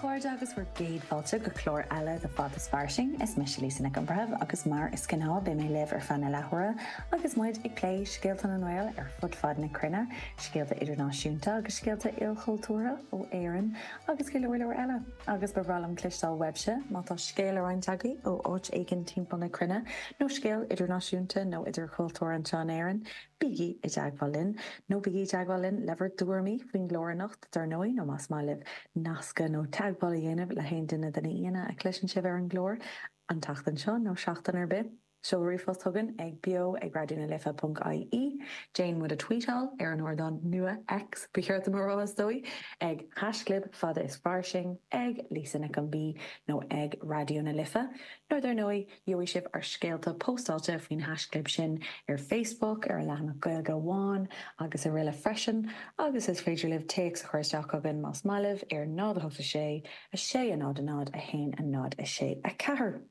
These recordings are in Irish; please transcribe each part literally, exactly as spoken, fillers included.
chairde agus bhur gcéad fáilte go clár eile de Fada is Fairsing is mise Lisa Nic an Bhreithimh agus mar is gnáth beidh mé libh ar feadh na leathuaire agus muid ag plé scéalta na nGael ar fud fad na cruinne, scéalta idirnáisiúnta agus scéalta ilchultúrtha ó Éirinn agus go leor leor eile. Agus ba bhreá liom cloisteáil uaibhse má tá scéal le roinnt agaibh ó áit éigin timpeall na cruinne nó scéal idirnáisiúnta nó idirchultúrtha anseo in Éirinn, bígí i dteagmháil linn nó bígí i dteagmháil linn le bhur dtuairimí faoin gclár anocht dar ndóigh nó más maith libh nascadh nó teagmháil a dhéanamh le haon duine de na haíonna a chloiseann sibh ar an gclár an tseachtain seo nó seachtain ar bith. Seol ríomhphost chugainn ag beo ag raidió na life ponc ie, déan muid a tweetáil ar an ardán nua X ba cheart dom a rá is dóigh, ag haischlib fada is fairsing, ag Lisa Nic an B nó ag Raidió na Life, nó dar ndóigh Gheobhaidh sibh ár scéalta póstáilte faoin haischlib sin ar Facebook, ar an leathanach Gaeilge Amháin agus araile freisin agus is féidir libh téacs a chur isteach chugainn más maith libh ar náid a hocht a sé, a sé a náid a náid, a haon a náid a sé a ceathair.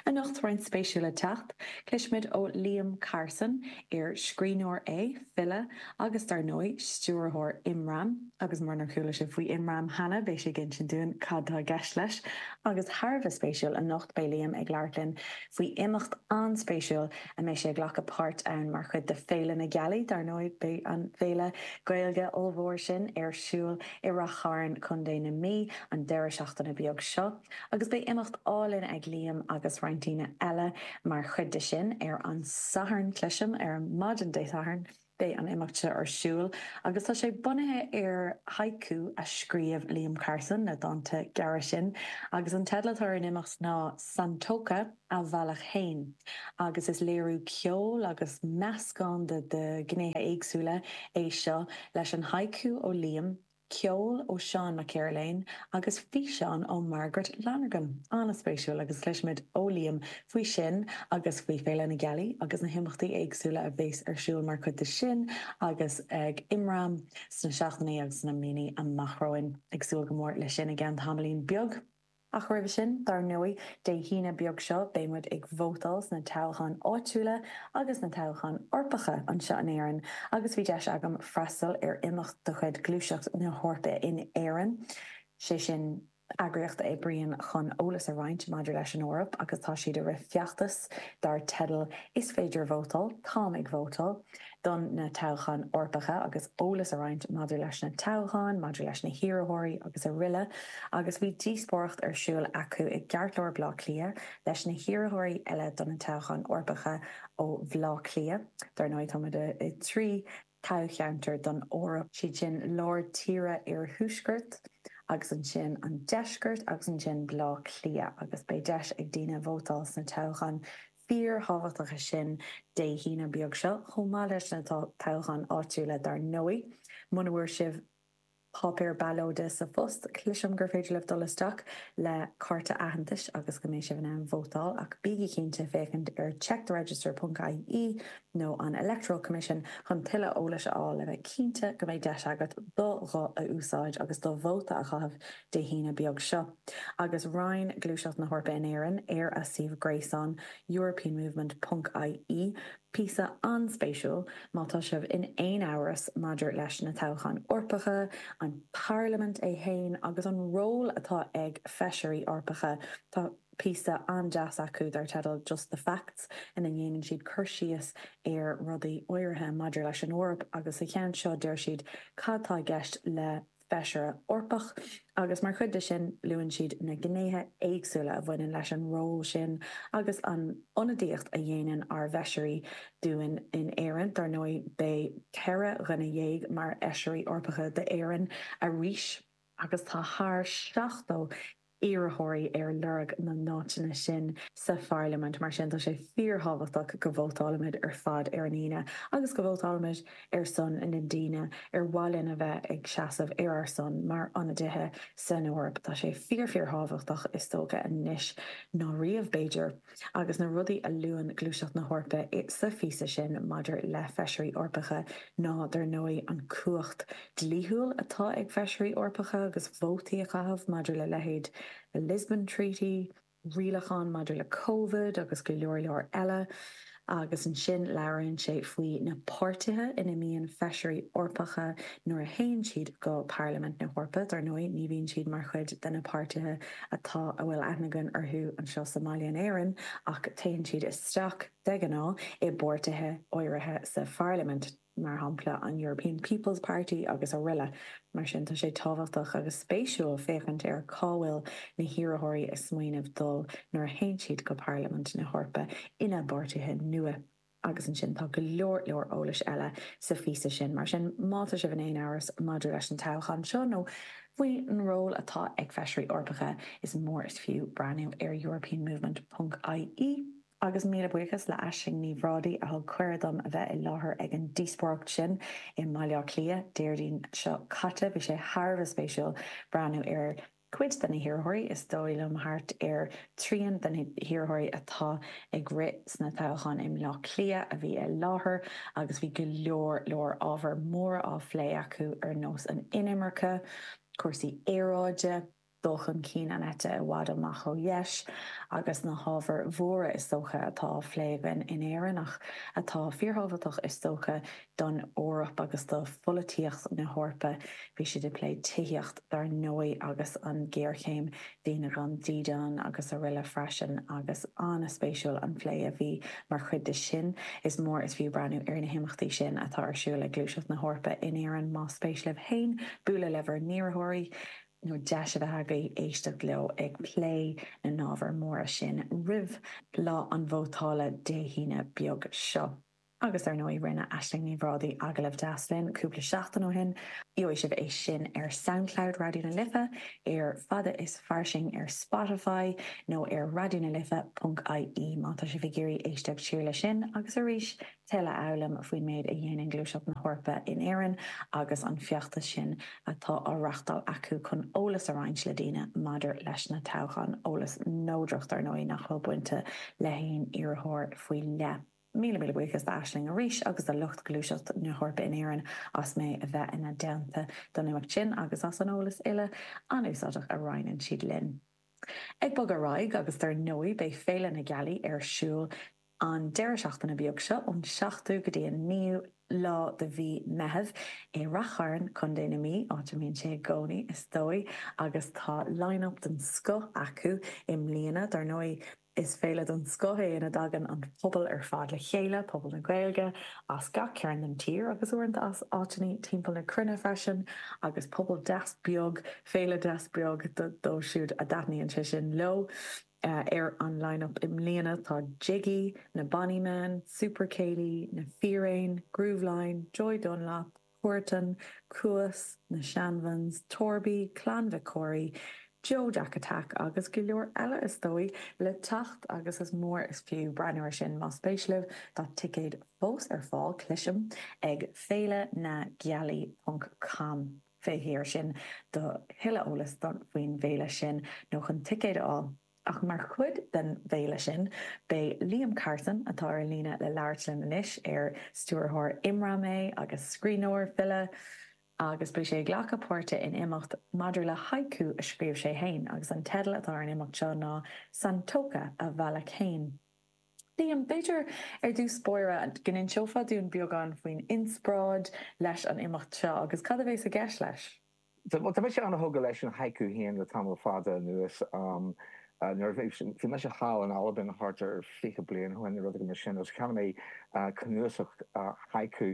Anocht roinnt spéisiúil le teacht, cloisfimid ó Liam Carson, ar scríbhneoir é, file agus dar ndóigh stiúrthóir Imram. Agus munar chuala sibh faoi Imram cheana, beidh sé ag insint dúinn cad tá i gceist leis. Agus thar a bheith spéisiúil, anocht beidh Liam ag labhairt linn faoi imeacht an-spéisiúil a mbeidh sé ag glacadh páirt ann mar chuid de Féile na Gealaí. Dar ndóigh, beidh an féile Gaeilge ollmhór sin ar siúl i Rath Chairn, Contae na Mí, an deireadh seachtaine beag seo. Agus beidh imeacht álainn ag Liam agus roinnt daoine eile mar chuid de sin ar an Satharn, cloisim, ar maidin Dé Sathairn. Beidh an imeacht seo ar siúl agus tá sé bunaithe ar haiku a scríobh Liam Carson, na dánta gearra sin, agus an teideal atá ar an imeacht ná Santoka, A Bhealach Fhéin, agus is léiriú ceoil agus meascán de de ghnéithe éagsúla é seo leis an haiku ó Liam, Ceol ó Seán Mac Cearléin agus físeán ó Margaret Lonergan. An-spéisiúil agus cloisfimid ó Liam faoi sin agus faoi Féile na Gealaí agus na himeachtaí éagsúla a bheas ar siúl mar chuid de sin agus ag Imram sna seachtainí agus sna míonna amach romhainn. Ag súil go mór leis sin i gceann tamaillín beag. Ach roimhe sin, dar ndóigh, Dé hAoine beag seo beidh muid ag vótáil sna toghcháin áitiúla agus sna toghcháin Eorpacha anseo in Éirinn agus bhí deis agam freastal ar imeacht de chuid Gluaiseacht na hEorpa in Éirinn, sé sin eagraíocht a oibríonn chun eolas a roinnt maidir leis an Eoraip agus tá siad ag rith feachtas dar teideal 'Is féidir vótáil, táim ag vótáil'. don na toghcháin Eorpacha agus eolas a roinnt maidir leis na toghcháin, maidir leis na hiarrthóirí agus araile agus bhí díospóireacht ar siúl acu i gceartlár Bhaile Átha Cliath leis na hiarrthóirí eile do na toghcháin Eorpacha ó Bhaile Átha Cliath. Dar ndóigh táimid i dtrí toghcheantar don Eoraip, siad sin lár tíre iarthuaisceart agus ansin an deisceart agus ansin Baile Átha Cliath agus beidh deis ag daoine vótáil sna toghcháin fíorthábhachtacha sin Dé hAoine beag seo, chomh maith leis na toghcháin áitiúla dar ndóigh. Muna bhfuair sibh páipéar ballóide sa phost, cloisim gur féidir libh dul isteach le cárta aitheantais agus go mbeidh sibh in ann vótáil, ach bígí cinnte féachaint ar checktheregister ponc ie nó an Electoral Commission chun tuilleadh eolais a fháil le bheith cinnte go mbeidh deis agat do ghuth a úsáid agus do vóta a chaitheamh Dé hAoine beag seo. Agus roinn Gluaiseacht na hEorpa in Éirinn ar a suíomh gréasáin europeanmovement ponc ie píosa an-spéisiúil má tá sibh in aon amhras maidir leis na toghcháin Eorpacha, an Pharlaimint é fhéin agus an ról atá ag feisirí Eorpacha. Tá píosa an-deas acu dar teideal Just the Facts ina ndéanann siad cur síos ar rudaí áirithe maidir leis an Eoraip agus sa cheann seo deir siad cad tá i gceist le Feisire Eorpach agus mar chuid de sin luann siad na gnéithe éagsúla a bhaineann leis an ról sin agus an ionadaíocht a dhéanann ár bhfeisirí dúinn in Éirinn. Dar ndóigh beidh ceithre dhuine dhéag mar Fheisirí Eorpacha d'Éirinn arís agus tá thar seachtó iarrthóirí ar lorg na n-áiteanna sin sa pharlaimint. Mar sin, tá sé fíorthábhachtach go vótálaimid ar fad ar an Aoine agus go vótálaimid ar son na ndaoine ar mhaith linn a bheith ag seasamh ar ár son mar ionadaithe san Eoraip. Tá sé fíor-fíorthábhachtach, is dócha, anois ná riamh, b'fhéidir. Agus na rudaí a luann Gluaiseacht na hEorpa sa phíosa sin maidir le Feisirí Eorpacha ná, dar ndóigh, an cumhacht dlíthiúil atá ag Feisirí Eorpacha agus vótaí a chaitheamh maidir le leithéid the Lisbon Treaty, rialacháin maidir le Covid agus go leor leor eile. Agus ansin labhraíonn sé faoi na páirtithe ina mbíonn feisirí Eorpacha nuair a théann siad go Parlaimint na hEorpa. Dar ndóigh, ní bhíonn siad mar chuid de na páirtithe atá a bhfuil aithne againn orthu anseo sa mbaile in Éirinn, ach téann siad isteach de ghnáth i bpáirtithe áirithe sa pharlaimint. mar shampla an European People's Party agus araile. Mar sin tá sé tábhachtach agus spéisiúil féachaint ar cá bhfuil na hiarrthóirí ag smaoineamh dul nuair a théann siad go Parlaimint na hEorpa ina bpáirtithe nua. Agus ansin tá go leor leor eolais eile sa phíosa sin. Mar sin má tá sibh in aon amhras maidir leis an toghchán seo nó faoin ról atá ag feisirí Eorpacha is mór is fiú breathnú ar europeanmovement ponc ie. Agus míle buíochas le Aisling Ní Bhrádaigh a thug cuireadh dom a bheith i láthair ag an díospóireacht sin i mBaile Átha Cliath Déardaoin seo caite. Bhí sé thar a bheith spéisiúil breathnú ar cuid de na hiarrthóirí, is dóigh liom thart ar trian de na hiarrthóirí atá ag rith sna toghcháin i mBaile Átha Cliath a bhí i láthair agus bhí go leor leor ábhar móra á phlé acu ar nós an inimirce, cúrsaí aeráide, dul chun cinn an eite i bhfad amach ó dheis agus na hábhair mhóra is dócha atá á phlé againn in Éirinn ach atá fíorthábhachtach is dócha don Eoraip agus do pholaitíocht na hEorpa. Bhí siad ag plé tithíocht dar ndóigh agus an ghéarchéim daoine gan dídean agus araile freisin agus an-spéisiúil an plé a bhí mar chuid de sin. Is mór is fiú breathnú ar na himeachtaí sin atá ar siúl ag Gluaiseacht na hEorpa in Éirinn más spéis libh féin bualadh le bhur n-iarrthóirí nó deis a bheith agaibh éisteacht leo ag plé na n-ábhar móra sin roimh lá an vótála Dé hAoine beag seo. Agus ar ndóigh rinne Aisling Ní Bhrádaigh agallamh deas linn cúpla seachtain ó shin. Gheobhaidh sibh é sin ar Soundcloud Raidió na Life, ar Fada is Fairsing ar Spotify nó ar Raidió na Life ponc ie má tá sibh ag iarraidh éisteacht siar leis sin agus arís tuilleadh a fhoghlaim faoin méid a dhéanann Gluaiseacht na hEorpa in Éirinn agus an feachtas sin atá á reáchtáil acu chun eolas a roinnt le daoine maidir leis na toghcháin, eolas neodrach dar ndóigh nach bhfuil bainte le haon iarrthóir faoi leith. Míle míle buíochas d'Aisling arís agus do lucht Gluaiseacht na hEorpa in Éirinn as mé a bheith ina dteannta don imeacht sin agus as an eolas uile an-úsáideach a roinneann siad linn. Ag bogadh ar aghaidh agus dar ndóigh beidh Féile na Gealaí ar siúl an deireadh seachtaine beag seo, ón seachtú go dtí an naoú lá de mhí Meitheamh, i Rath Chairn, Contae na Mí, áit a mbíonn sé i gcónaí, is dóigh, agus tá line-up den scoth acu i mbliana. Dar ndóigh, is féile den scoth é ina dtagann an pobal ar fad le chéile, pobal na Gaeilge as gach cearn den tír agus uaireanta as áiteanna timpeall na cruinne freisin, agus pobal deas beag, féile deas beag dóibh siúd a dtaitníonn sé sin leo. Ar an line-up i mbliana tá Jiggy, na Bonny Men, Super Céilí, Na Fíréin, Grooveline, Joy Dunlop, Huartan, Cuas, Na Shanvans, Torby, Clann Mhic Corraidh, Joe Jack Attack agus go leor eile is dóigh le teacht agus is mór is fiú breathnú ar sin más spéis libh. Tá ticéid fós ar fáil, cloisim, ag féile na gealaí ponc com. Féach air sin do thuilleadh eolais faoin bhféile sin nó chun ticéid a fháil. Ach mar chuid den bhféile sin, beidh Liam Carson, atá ar an líne le labhairt linn anois, ar stiúrthóir Imram é agus scríbhneoir, file, agus beidh sé ag glacadh páirte in imeacht maidir le haiku a scríobh sé féin, agus an teideal atá ar an imeacht seo ná Santoka, A Bhealach Féin. Liam, b'fhéidir ar dtús báire go n-inseofá dúinn beagán faoin inspioráid leis an imeacht seo agus cad a bheas i gceist leis? Bhuel, tá mise an-thógtha leis an haiku féin le tamall fada anuas. Nuair a bhí, bhí mise thall in Albain thart ar fiche bliain ó shin nó rud éigin mar sin agus cheannaigh mé cnuasach haiku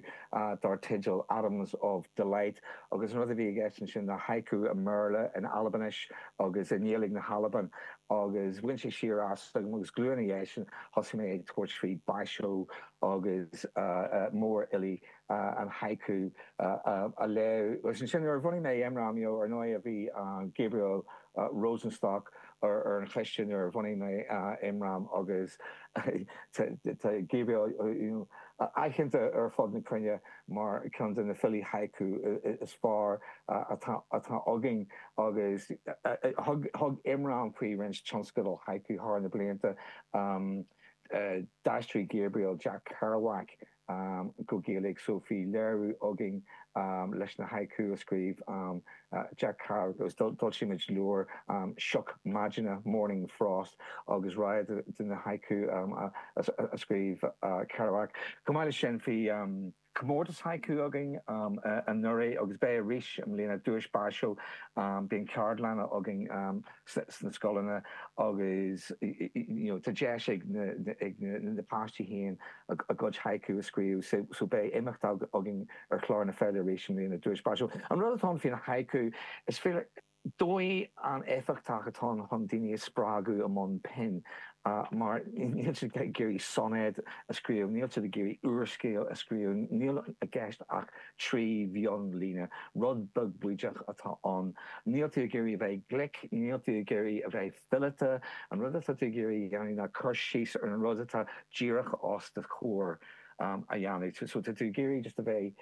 dar teideal Atoms of Delight agus an rud a bhí i gceist ansin ná haiku i mBéarla, in Albainis agus i nGaeilge na hAlban. Agus bhain sé siar asam agus go luath ina dhiaidh sin thosaigh mé ag tabhairt faoi Basho agus mórfhilí an haiku a léamh. Agus ansin nuair a bhunaigh mé Imram, you know, ar ndóigh bhí Gabriel Rosenstock ar an choiste nuair a bhunaigh mé Imram agus tá Gabriel, you know, aitheanta ar fud na cruinne mar cheann de na filí haiku is fearr atá againn agus thug Imram faoi roinnt tionscadal haiku thar na blianta. D'aistrigh Gabriel Jack Kerouac go Gaeilge so bhí léiriú againn leis na haiku a scríobh Jack Kerouac agus d'fhoilsigh muid leabhar Sioc Maidine, Morning Frost agus roinnt de na haiku a scríobh Kerouac. Chomh maith leis sin bhí comórtas haiku againn anuraidh agus beidh arís i mbliana, Duais Basil, bíonn ceardlanna againn sna scoileanna agus you know tá deis ag na ag na páistí féin a gcuid haiku a scríobh so beidh imeacht againn ar chlár na féile arís i mbliana, Duais Basil. An rud atá ann faoin haiku, is féidir. Dóigh an-éifeachtach atá ann chun daoine a spreagadh i mbun pinn, mar níl siad ag iarraidh soinéad a scríobh, níl siad ag iarraidh úrscéal a scríobh, níl i gceist ach trí mhionlíne, rud beag bídeach atá ann. Níl tú ag iarraidh a bheith glic, níl tú ag iarraidh a bheith fileata, an rud atá tú ag iarraidh a dhéanamh ná cur síos ar an rud atá díreach os do chomhair a dhéanamh. So tá tú ag iarraidh just a bheith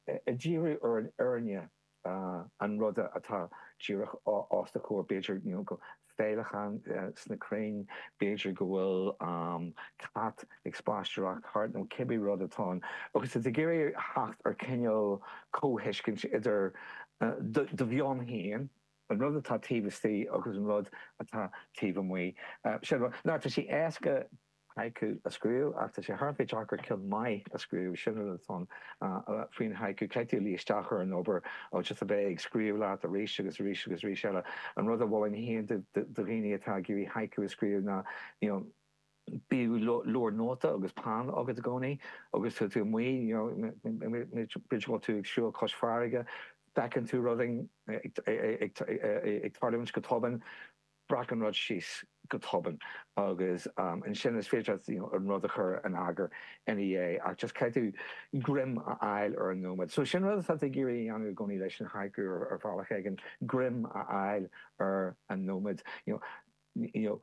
ag díriú ar an fhírinne. an ruda atá díreach os do chomhair, b'fhéidir you know go féileacán sna crainn, b'fhéidir go bhfuil cat ag spaisteoireacht thart nó cibé rud atá ann. Agus tá tú ag iarraidh theacht ar cineál comhthuiscint idir do mheon féin, an rud atá taobh istigh agus an rud atá taobh amuigh. Sin rud. Now tá sé éasca haiku a scríobh ach tá sé thar a bheith deacair ceann maith a scríobh, sin rud atá ann faoin haiku. Caithfidh tú luí isteach ar an obair agus just a bheith ag scríobh leat arís agus arís agus arís eile. An rud a mholfainn féin do dhaoine atá ag iarraidh haiku a scríobh ná you know bíodh leabhar nóta agus peann agat i gcónaí agus tá tú amuigh you know b'fhéidir go bhfuil tú ag siúl cois farraige, feiceann tú rud ag tarlúint go tobann, breac an rud síos go tobann agus ansin is féidir leat you know an rud a chur in eagar ina dhiaidh ach just caithfidh tú greim a fháil ar an nóiméad. So sin rud atá tú ag iarraidh a dhéanamh i gcónaí leis an haiku ar bhealach éigin, greim a fháil ar an nóiméad. You know, you know,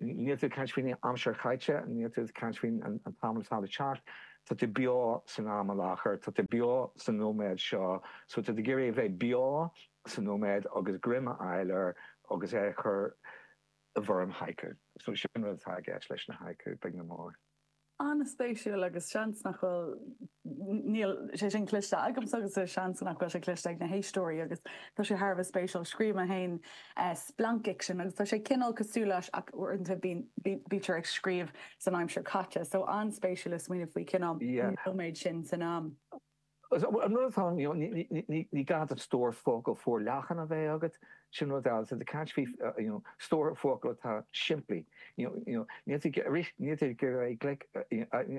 níl tú ag caint faoin aimsir chaite, níl tú ag caint faoin an t-am atá le teacht, tá tú beo san am i láthair, tá tú beo sa nóiméad seo, so tá tú ag iarraidh a bheith beo sa nóiméad agus greim a fháil air agus é a chur i bhfoirm haiku. So sin rud atá i gceist leis na haiku, beag nó mór. An-spéisiúil agus seans nach bhfuil, níl sé sin cloiste agamsa agus seans nach bhfuil sé cloiste ag na héisteoirí agus tá sé thar a bheith spéisiúil. Scríobh mé féin splancfhicsean agus tá sé cineál cosúil leis ach uaireanta bíonn, bítear ag scríobh san aimsir chaite. So an-spéisiúil le smaoineamh faoi cineál nóiméad sin san am. An rud atá ann, ní gá duit stór focal forleathan a bheith agat, sin rud eile. Tá tú ag caint faoi stór focal atá simplí. Níl tú, arís, níl tú ag iarraidh glic,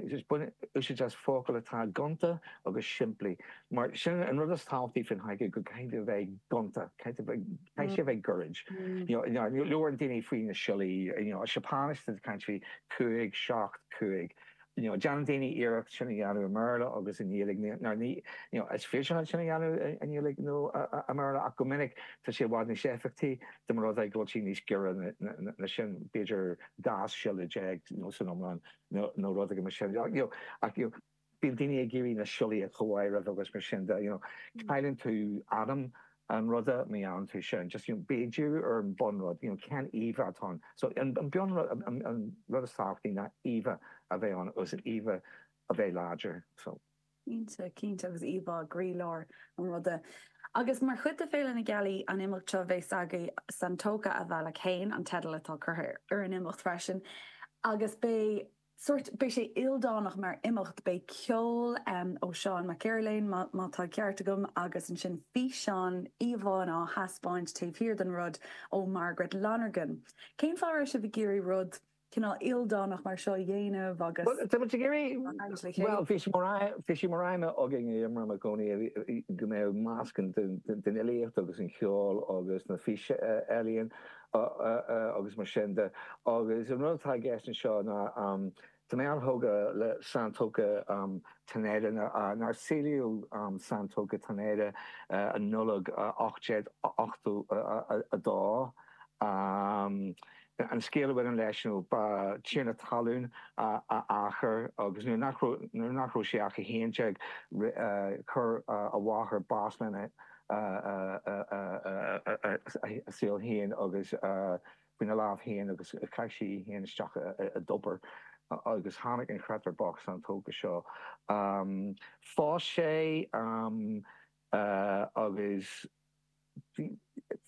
just bain úsáid as focail atá gonta agus simplí. Mar sin an rud is tábhachtaí faoin haiku, go gcaithfidh tú a bheith gonta, caithfidh sé a bheith gairid. Labhrann daoine faoi na siollaí, Seapáinis, tá tú ag caint faoi cúig, seacht, cúig. You know, déanann daoine iarracht sin a dhéanamh i mBéarla agus i nGaeilge. Now, ní, you know, is féidir leat sin a dhéanamh i nGaeilge nó i mBéarla ach go minic tá sé i bhfad níos éifeachtaí dá mba rud é go bhfuil sé níos giorra ná sin, b'fhéidir dhá siolla déag you know, san iomlán nó, nó rud éigin mar sin. You know, ach you know, bíonn daoine ag iarraidh na siollaí a chomháireamh agus mar sin de, you know, cailleann tú anam an ruda má dhéanann tú sin. Just, you know, bí ag díriú ar an bunrud, you know, cén íomhá atá ann. So an bunrud, an rud is tábhachtaí ná íomhá a bheith ann agus an íomhá a bheith láidir. So. Cinnte, cinnte, agus íomhá i gcroílár an ruda. Agus mar chuid de Féile na Gealaí, an imeacht seo a bheas agaibh, Santoka a Bhealach Fhéin an teideal atá curtha ar an imeacht freisin, agus beidh. sórt, beidh sé ildánach mar imeacht, beidh ceol ó Seán Mac Airléin, má tá ceart agam, agus ansin físeán, íomhánna á thaispeáint taobh thiar den rud ó Margaret Lonergan. Cén fáth a raibh sibh ag iarraidh rud cineál ildánach mar seo a dhéanamh agus. Bhuel, tá muid ag iarraidh, bhuel, bhí sé mar, bhí sé mar aidhm againn i imram i gcónaí go mbeadh meascán den fhilíocht agus an cheol agus na físealaíon agus mar sin de. Agus an rud atá i gceist anseo ná tá mé an-thógtha le Santoka Taneda, nár saolaíodh Santoka Taneda i Nollaig ocht déag ochtó a dó. An scéal a bhaineann leis nó ba tiarna talún a athair agus nuair nach raibh nuair nach raibh sé ach a haon déag chuir a mháthair bás lena a saol féin agus faoina lámh féin agus chaith sí í féin isteach i dtobar. agus tháinig an créatúr bocht Santoka seo. Phós sé agus bhí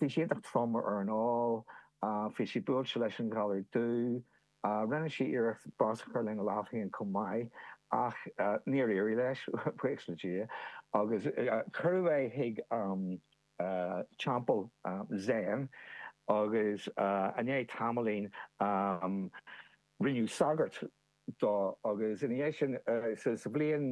sé iontach trom ar an ól, bhí sé buailte leis an ghalar dubh, rinne sé iarracht bás a chur lena lámh féin chomh maith ach níor éirigh leis, buíochas le Dia, agus cuireadh é chuig teampall Zen agus i ndiaidh tamaillín rinneadh sagart dó agus ina dhiaidh sin sa bhliain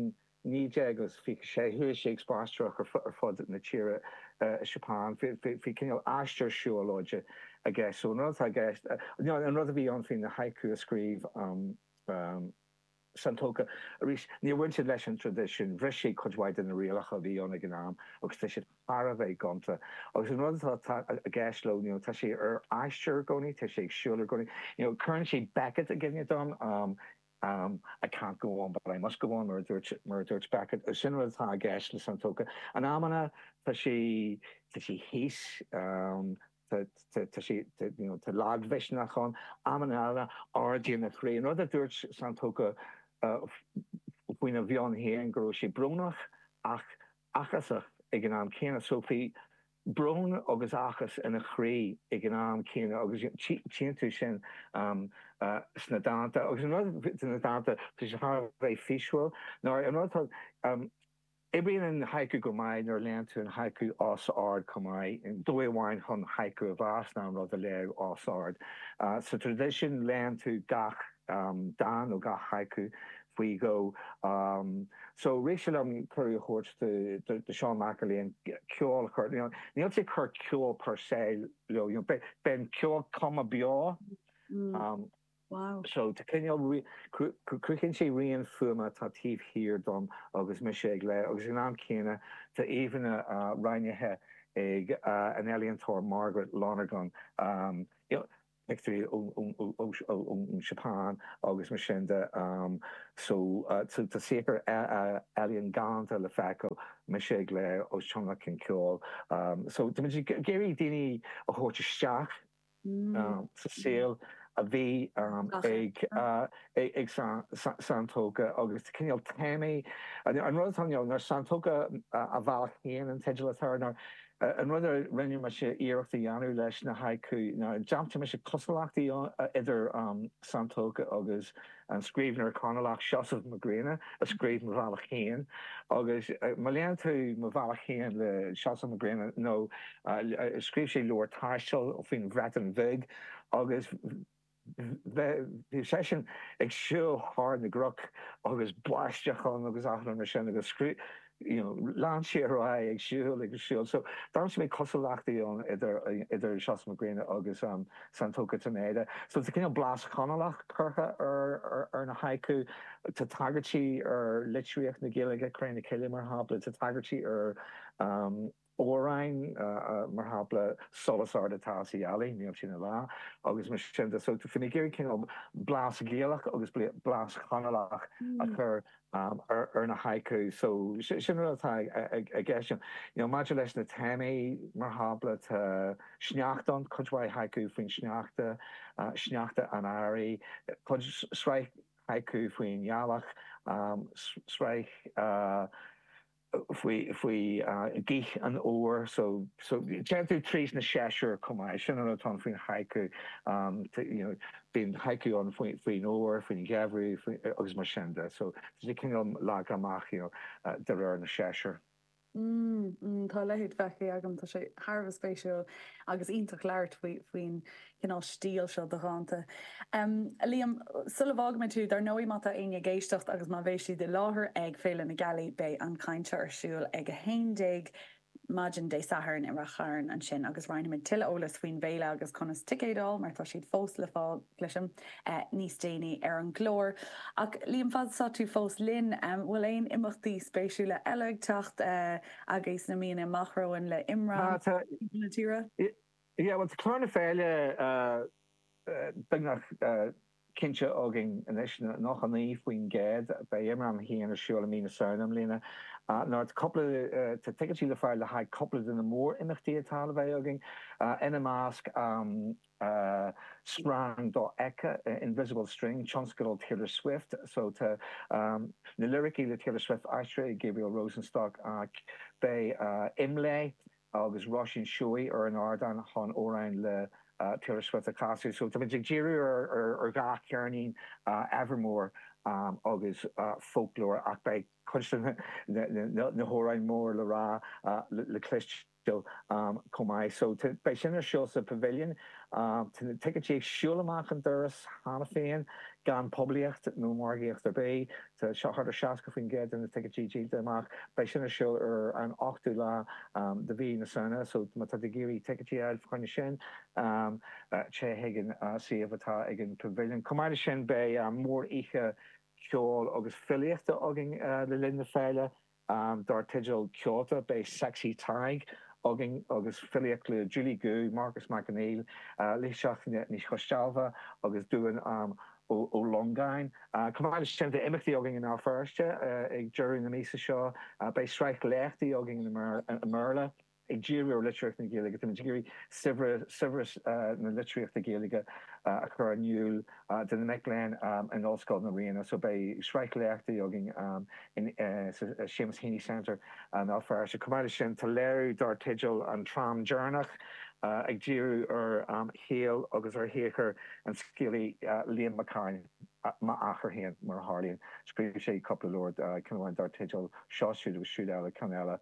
naoi déag is fiche sé chuaigh sé ag spaisteoireacht ar fud na tíre i Seapáin. Bhí cineál aistear siúlóide aige. So an rud atá i gceist, an rud a bhí ann faoi na haiku a scríobh Santoka, arís, níor bhain siad leis an traidisiún, bhris siad cuid mhaith de na rialacha a bhí ann ag an am agus tá siad thar a bheith gonta. Agus an rud atá i gceist leo, you know, tá sé ar aistear i gcónaí, tá sé ag siúl i gcónaí. You know, cuireann sé Beckett i gcuimhne dom, um, um, I can't go on but I must go on, mar a dúirt, mar a dúirt Beckett. Sin rud atá i gceist le Santoka. In amanna tá sé, tá sé thíos, um, tá, tá, tá sé, tá, you know, tá lagmhisneach ann, amanna eile ardaíonn a chroí. An rud a dúirt Santoka uh, faoina mheon féin go raibh sé brónach ach áthasach ag an am céanna. So bhí brón agus áthas ina chroí ag an am céanna agus tchíonn tú sin um, uh, sna dánta. Agus an rud sna dánta tá sé thar a bheith físiúil. Nuair an rud atá, um, oibríonn an haiku go maith nuair a léann tú an haiku os ard chomh maith. Dóigh amháin chun haiku a mheas ná an rud a léamh os ard. Uh, sa traidisiún léann tú gach um, dán nó gach haiku faoi dhó. Um, so rith sé liom cuireadh a thabhairt do, do, do Seán McErlean ceol a chur. You know, níl sé ag cur ceol per se leo, you know, beidh an ceol cuma beo. Mm. Um, Wow. So tá cineál cruthaíonn sé rian fuaime atá taobh thiar dom agus mise ag léamh agus ag an am céanna tá íomhánna roghnaithe ag an ealaíontóir Margaret Lonergan, um, you know, pictiúirí ón Seapáin agus mar sin de. Um, so uh, tá saothar ealaíon galánta le feiceáil mise ag léamh os tionlacan ceoil. Um, so tá muid ag iarraidh daoine a thabhairt isteach Mm. um, sa saol a bhí um, ag uh, ag Santoka agus cineál téamaí an rud atá ná Santoka a bhealach féin an teideal atá air ná an rud a rinne mise iarracht a dhéanamh leis na haiku ná d'aimsigh mise cosúlachtaí idir um, Santoka agus an scríbhneoir Conallach Seosamh Mac Grianna a scríobh Mo Bhealach Féin agus má léann tú Mo Bhealach Féin le Seosamh Mac Grianna nó scríobh sé leabhar taistil faoin Bhreatain Bheag agus bhí seisean ag siúl thar na gcnoc agus báisteach ann agus achan mar sin agus scrí you know, lean sé ar aghaidh ag siúl ag siúl. So d'aimsigh mé cosúlachtaí ann idir idir Seosamh Mac Grianna agus um, Santoka Taneda. So tá cineál blas Conallach curtha ar, ar, ar na haiku, tá tagairtí ar litríocht na Gaeilge Cré na Cille mar shampla, tá tagairtí ar um, amhráin mar shampla Solas ard atá sa ghealaigh, níl sí ina lá, agus mar sin de. So bhí mé ag iarraidh cineál blas Gaelach agus blas Conallach a chur um, ar, ar na haiku. So sin rud atá i gceist. You know, maidir leis na téamaí mar shampla tá sneachta ann, cuid mhaith haiku faoin sneachta, uh, sneachta an earraigh, cuid sraith haiku faoin ghealach, um, sraith uh, faoi faoi uh, gaoth an fhómhair so so téann tú tríd na séasúir chomh maith sin an atá faoin haiku um, you know, bíonn haiku ann faoin faoin fhómhar faoin gheimhreadh agus mar sin de so tá sé cineál leagtha amach you know, uh, de réir na séasúr. Mm, mm, tá leithéid feicthe agam tá sé thar a bheith spéisiúil agus iontach labhairt faoi faoin cineál stíl seo de dhánta. Um, Liam sula bhfágfaidh mé tú dar ndóigh má tá éinne ag éisteacht agus má bheidh siad i láthair ag Féile na Gealaí beidh an chaint ar siúl ag a haon déag maidin Dé Sathairn i Rath Chairn ansin agus roinnfimid tuilleadh eolas faoin bhféile agus conas ticéid a fháil mar tá siad fós le fáil cloisim eh, níos déanaí ar an gclár. Ach Liam fad is atá tú fós linn um, bhfuil aon imeachtaí spéisiúla eile ag teacht uh, agus na míonna amach romhainn le Ah, imram tá na tíre? Yeah, well, tá clár na féile uh, uh, beagnach uh, cinnte againn anois nócha naoi faoin gcéad. Beidh Imram a haon ar siúl i mí na Samhna i mbliana. Nuair cúpla tá ticéidí le fáil le haghaidh cúpla de na mór-imeachtaí atá le bheith againn, ina measc Srang Dofheicthe, Invisible String, tionscadal Taylor Swift. So tá na liricí le Taylor Swift aistrithe ag Gabriel Rosenstock. Beidh Imlé agus Róisín Seoighe ar an ardán chun amhráin le Taylor Swift a chasadh. So táimid ag díriú ar dhá cheirnín Evermore agus Folklore ach beidh cuid de na hamhráin mór le rá le cloisteáil chomh maith. So beidh sin ar siúl sa Pavilion. Tá na ticéidí ag siúl amach an doras cheana féin gan poiblíocht nó margaíocht ar bith. Tá seo thart ar seasca faoin gcéad de na ticéidí díolta amach. Beidh sin ar siúl ar an ochtú lá de mhí na Samhna, so má tá tú ag iarraidh ticéidí a fháil fá choinne sin, téigh chuig an suíomh atá ag an Pavilion. Chomh maith leis sin beidh mór-oíche ceoil agus filíochta againn le linn na féile dar teideal Ceolta. Beidh Sexy Tadhg againn agus filíocht le Julie Gu, Marcus Mac Conghail, Laoighseach Ní Choisdealbha agus Dubhán Ó Longáin. Chomh maith leis sin, tá imeachtaí againn i mBéal Feirste ag deireadh na míosa seo. Beidh sraith léachtaí againn i mBéarla ag díriú ar litríocht na Gaeilge. Táimid ag iarraidh saibhreas na litríochta Gaeilge a chur in iúl do na mic léinn in Ollscoil na Ríona. So beidh sraith léachtaí againn sa Seamus Heaney Centre i mBéal Feirste. Chomh maith leis sin, tá léiriú dar teideal An Tram Deireanach ag díriú ar shaol agus ar shaothar an scéalaí Liam Mac Cairt, m'athair féin, mar a tharlaíonn. Scríobh sé cúpla leabhar, ceann amháin dar teideal Seo Siúd agus Siúd Eile, ceann eile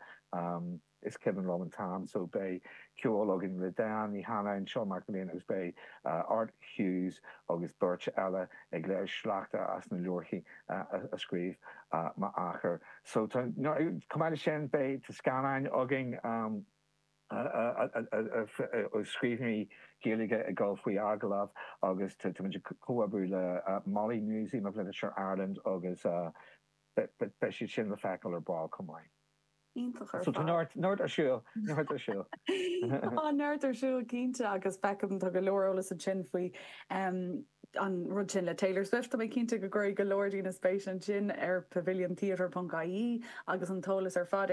Is Cuimhin Liom an t-am. So beidh ceol againn le Diane Ní Chanainn, Seán Mac Léin agus beidh Art Hughes agus beirt eile ag léamh sleachta as na leabharthaí a scríobh m'athair. So tá, chomh maith leis sin beidh tá scannáin againn scríbhneoirí Gaeilge ag dul faoi agallamh agus táimid ag comhoibriú le Molly Museum of Literature Ireland agus beidh siad sin le feiceáil ar ball chomh maith. Iontach ar So tá fad. neart, neart ar siúl, neart ar siúl. Tá neart ar siúl cinnte agus feicim tá go leor eolas ansin faoi an rud sin le Taylor Swift. Tá mé cinnte go gcuirfidh go leor daoine spéis ansin ar pavilion theatre ponc ie agus an t-eolas ar fad ar